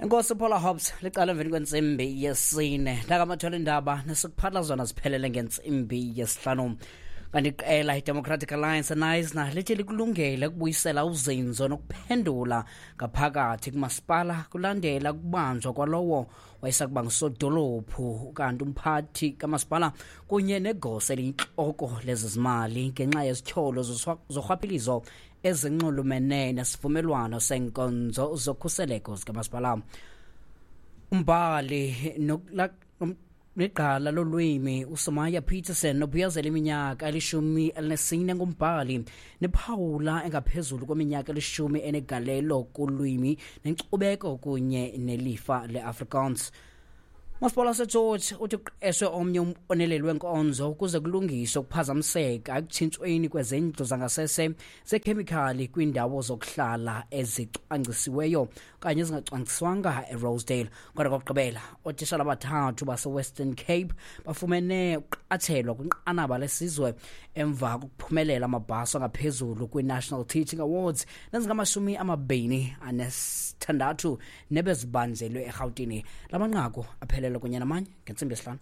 Enkosi Paula Hobbs, licala emveni kwentsimbi yesine. Nakamathole indaba nesikuphatha zona ziphelele ngentsimbi yesihlanu. Kanti iqela iDemocratic Alliance eNaisna lithi likulungele ukubuyisela uzinzo nokuphendula ngaphakathi kumasipala kulandela ukubanjwa kwalowo wayesakuba ngusodolophu kanti umphathi kamasipala kunye negosa eliyintloko lezezimali ngenxa yezityholo zorhwaphilizo ezinxulumene nesivumelwano seenkonzo zokhuseleko zikamasipala. Umbhali negqala lolwimi uSomaya Peterson obuyazela iminyaka eli-14 ngumbhali nephawula engaphezulu kweminyaka eli-10 enegalelo kulwimi nenkcubeko kunye nelifa leAfrikaans. Umasipala waseGeorge uthi kuqeshwe omnye umboneleli wenkonzo ukuze kulungiswe ukuphazamiseka ekutshintshweni kwezindlu zangasese zekhemikhali kwiindawo zokuhlala ezicwangcisiweyo okanye ezingacwangciswanga eRosedale. Kodwa kokugqibela, ootishala abathathu baseWestern Cape bafumene ukuqatshelwa kwinqanaba lesizwe emva kokuphumelela amabhaso angaphezulu kwi-National Teaching Awards nezingama-26 nebezibanjelwe eRhawutini. La manqaku aphelele kunye namanye ngentsimbi yesihlanu.